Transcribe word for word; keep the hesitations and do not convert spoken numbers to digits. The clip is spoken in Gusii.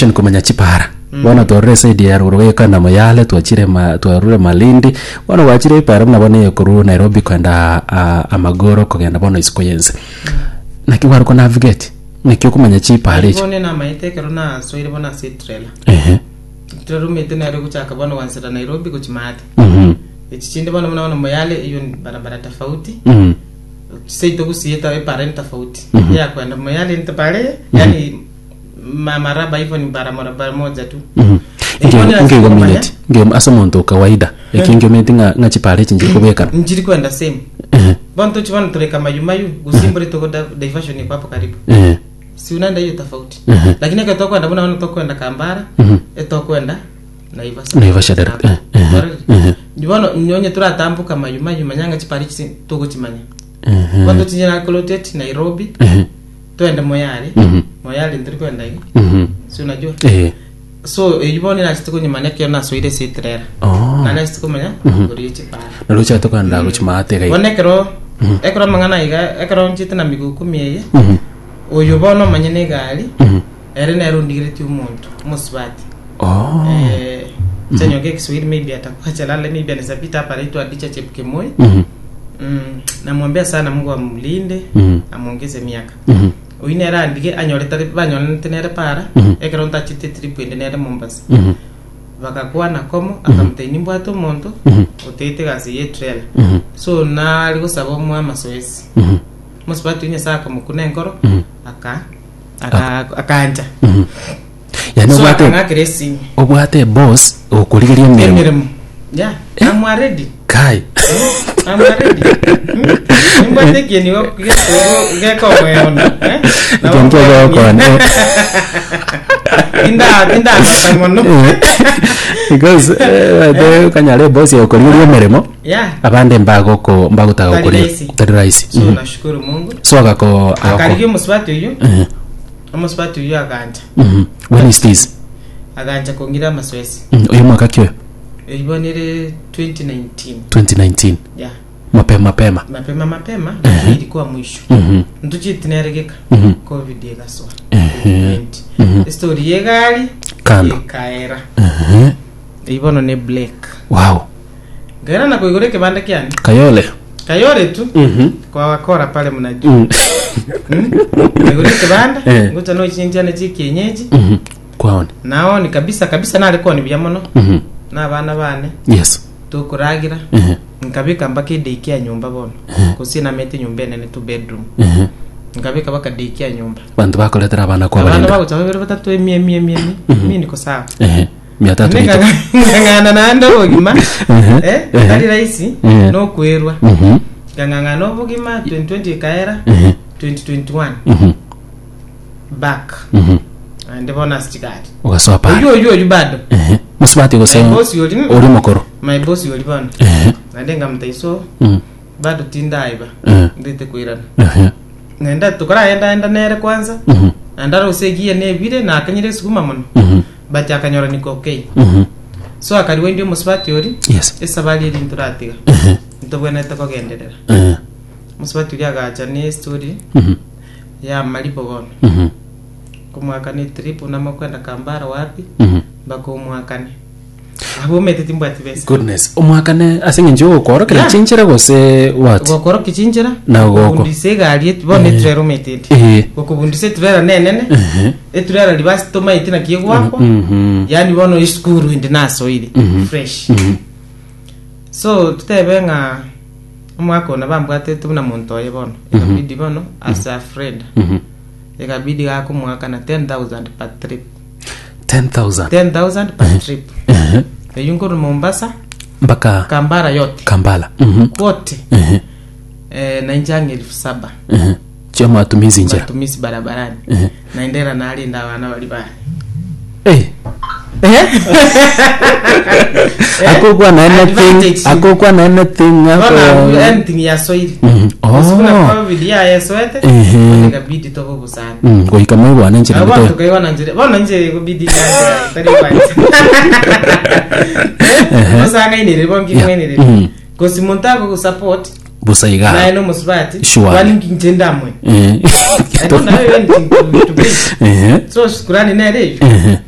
Navigation, komanya chipara. Bono twarure eside ya ruguru gekana Moyale, twachire ma, twarure Malindi, bono gwachire ipara buna bono ekorwa Nairobi kwenda uh, Amagoro, kogenda bono isiko yense. Naki gware navigate? Naki okomanya chipara echi? Bono namaete ekero nasoire bono ase etrailer. Ehe trailer omete nere gochaka bono gwansera Nairobi gochimate. Mhm echi chinde bono buna bono Moyale, iyo ni barabara tofauti. Mhm Seito gusieta epara ni tofauti. Mhm. Ya kwenda Moyale ni pare, yani ma maraba hivyo, ni barabara moja tu. Mhm. Eh, bono Nge nase nge ase omonto kawaida eki ngiometi ng'a ng'a chipara echi nchiri kobekana. Njiri kwenda same. Ehe Bono tochi bono tureka mayumayu gusimbure tuko da- diversion iko hapo karibu. Ehe Si unaenda hiyo tofauti. Mhm. Lakini ekero tokwenda buna bono tokwenda Kambara, Mhm. etokwenda Naivasha. Naivasha direct. Eh, eh, eh. Bono nyonye turatambuka mayumayu manyanga chipari chisi tugochimanya. Ehe Bono tochinye Nakuloteti Nairobi, Ehe twende Moyale. Mhm. Moyale ntiri kwenda igi. Mhm Si unajua? Eh. So eyi bono nachite konyimanya ekero nasoire ase etrailer. Oh. Na nachite komanya kori chipara. Narocha tokanda gochimate gai. Bono ekero ekero amang'ana iga, ekero nchete na miguu kumi eye, Mhm oyo bono omanye na egari, Mhm ere nere ondigeretie omonto omosubati. Oh. Eh, chanyoge Kiswahili, maybe atakuwa chalala, maybe anaweza pita hapa, anaitwa Adicha Chepkemoi. Mhm mm, namwombea sana Mungu amlinde, Mhm. amwongeze miaka. Mhm Oyu nere andige anyorete banyoranete nere para Mhm. ekero ntachete trip ende nere Mombasa. Mhm Bakakwana komo, akamutebia nimbwate omonto Mhm. oteete gasi ye trailer. Mhm So nari gosaba omwe amasoesi. Mhm Mosubati oyu Nyasaye akamokuna enkoro, Mhm. aka aka akaancha. Mhm yani So obwate akang'akera esimi. Obwate boss okurigeria emirimo. Emirimo, yeah, I'm ready. Kai. I'm ready. Nimbwate ekieni gekomweona. Ekieni kiogokona. Tindagota mono. Because eh, de kanyare boss okurigeria emirimo, yeah abande mbagoko mbagotaka Tari gukuri. rahisi. Tari rahisi. So Mhm. nashukuru Mungu. So agako agako Akarigia omusubati oyu. Eh, Omusubati oyu agancha. mhm. when is this? Agancha kongira amasoesi. Mm, uyu mwaka kyo? Ibonere twenty nineteen. twenty nineteen. Yeah. Mapema mapema. Mapema mapema, lakini ilikuwa mwisho. Mhm. Ntuchitineregeka. Mhm. Covid egasoa. Ehe. twenty twenty. Mhm. Story yegari Kando. ekaera. Ehe. Ibono ne black. Wow ngaira na kuigura kibanda kyane. Kayole. Kayole tu. Mhm. Kwa wakora pale mnajua. Mm. mm? Kuigura kibanda, Eh. nguta no chinjane chikienyeji. Mhm. kwaone. Naoni kabisa kabisa nalikuwa ni bya mono Mhm. n'abana bane yes tukuragira. Mhm. Nkabika mpaka edeikia nyumba bono kusina mete nyumba enene, two bedroom. Mhm. Nkabika baka daycare nyumba. Bantu bakoretera abana kwa abana barinda. bagocha babere batatu, emi emi emi emi, mi niko sawa. Ehe, mia tatu nito. Ng'ang'ana naende obogima. Mhm. Eh, Mhm. tari rahisi. Mhm. Nokwerwa. Mhm. Ng'ang'ana obogima, twenty twenty ekaera. Mhm. twenty twenty-one, Mhm. back. Mhm. Ande bona sichigari. Ugasoa pale. Oyu oyu oyu bado. Ehe, musubati gose? My boss yoli. Uri mukuru. My boss yoli bono. Ehe Naende ngamutaiso Mm. bado tindaiba. Eh. Ndete kwirana. Ehe Nenda tukaraenda nere kwanza. Mhm. Nanda rose egiye nebire nakanyire esukuma mono. Mhm. But akanyora niko okay. Mhm. So akariwe ndi omusubati ori, yes esabari eri nturatiga, Ehe ntobwenerete kogenderera. Eh. Omusubati ori agacha ne story Mhm. ya malipo bono. Mhm. Kumwakane trip unamakwenda Kambara wapi, Mhm. mpaka omwakane abo omete timbwati besa. Goodness, omwakane ase eng'encho yogokorokera Yeah. chinchera gose what? Gokorokia chinchera. Na goko. Gokobundisa egari eti bono etrailer omete ende. Eh. Gokobundisa etrailer nenene. Ehe. Etrailer ribasi tomaete naki egwakwa. Mhm. Yani bono esukuru ende nasoire Mhm. fresh. Mhm. So tutebe ng'a omwaka ono bambwatete buna monto oye bono ekabidi bono as a friend, Mhm. ekabidi gakomwaka na ten thousand per trip. ten thousand? ten thousand per trip. Ehe. Eyu nkoru Mombasa mpaka Kambara yote. Kambala. Mhm. Kwote. Ehe. Eh, na injangi elfu saba. Ehe, chia matumizi njira. Matumizi barabarani. Ehe. Naendera nalinda abana bali bane. Eh. Akokwa na anything? Advantage. Akokwa na anything? Bona ako anything ya soiri. Mhm. Oh. Kuna covid ya yesoete. Ehe. Ikabidi tobo busana. Mm, goika moigwane nchera. Abo gete tukaiwana njire bona nje kubidi nyanja tari kwanza osanga inere bongi. Yeah. Mwenere. Mm. Kosi muntu ako support busa iga. Naye no musubati. Sure. Kwani nje ndamwe. Eh. I don't have anything to, to bring. Ehe. So shukurani nere. Ehe.